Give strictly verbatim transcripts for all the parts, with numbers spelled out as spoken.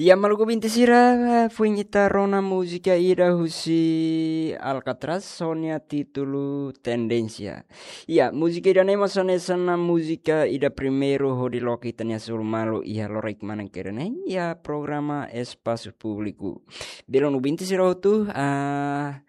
Ya, maluk ouvinte sira, foin ita rona múzika ida husi Alcatraz, ho nia títulu Tendénsia. Ya, múzika ida-ne'e mós hanesan ona múzika ida primeiru hodi loke ita-nia sulu malu iha loraik manán ida-ne'e, iha programa Espasu Públiku. Belun ouvinte sira hotu, ah,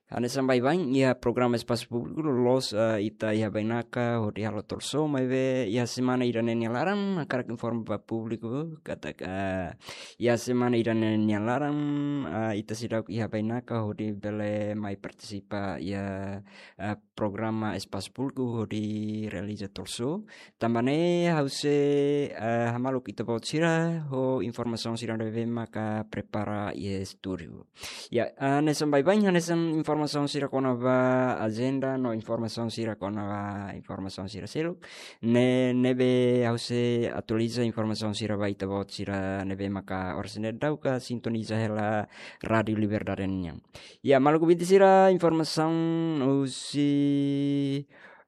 hanesan baibain iha programa Espasu Públiku loloos, ah, ita iha bainaka hodi halo talk show, maibé iha semana ida-ne'e nia laran, hakarak informa ba públiku katak, ah, iha semana ida-ne'e nia laran, ah, ita seidauk iha bainaka hodi bele mai partisipa iha, ah, programa Espasu Públiku hodi realiza talk show. Tanba ne'e ha'u sei, ah, hamaluk ita-boot sira ho informasaun sira ne'ebé maka prepara iha estúdiu. Ya, ah, hanesan baibain, hanesan informasaun sira kona-ba ajenda no informasaun sira kona-ba informasaun sira seluk. Ne'e, ne'ebé ha'u sei atualiza informasaun sira ba ita-boot sira ne'ebé maka oras ne'e daudauk sintoniza hela Rádiu Liberdade nian. Ya, maluk ouvinte sira, informasaun husi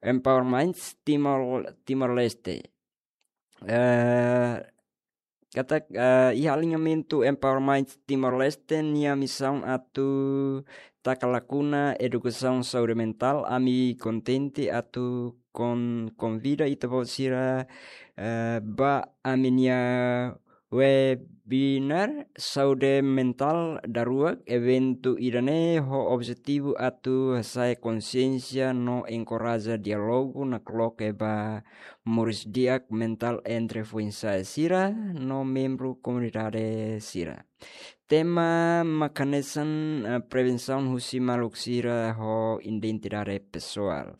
Empower Minds Timor, Timor-Leste. Eh, katak, eh, iha aliñamentu Empower Minds Timor-Leste nia misaun atu taka lakuna edukasaun saúde mentál, ami kontente atu kon-, konvida ita-boot sira, eh, ba ami-nia webinar saúde mentál daruak. Eventu ida-ne'e ho objetivu atu hasa'e konsiénsia no enkoraja diálogu nakloke ba moris di'ak mentál entre foin-sa'e sira no membru komunidade sira. Tema maka hanesan, eh, prevensaun husi maluk sira ho identidade pesoál.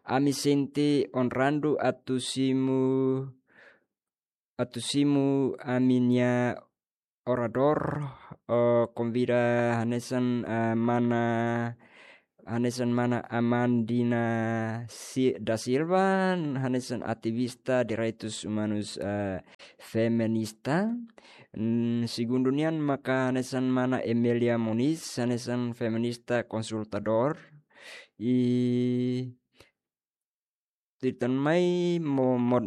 Ami sente onradu atu simu, atu simu ami-nia oradór, eh, konvida hanesan, eh, mana, hanesan mana Amandina Si-, da Silva, hanesan ativista direitus umanus, eh, feminista. Mm, segundu nian maka hanesan mana Emelia Moniz, hanesan feminista konsultadór. I tutan mai mo-, mo-,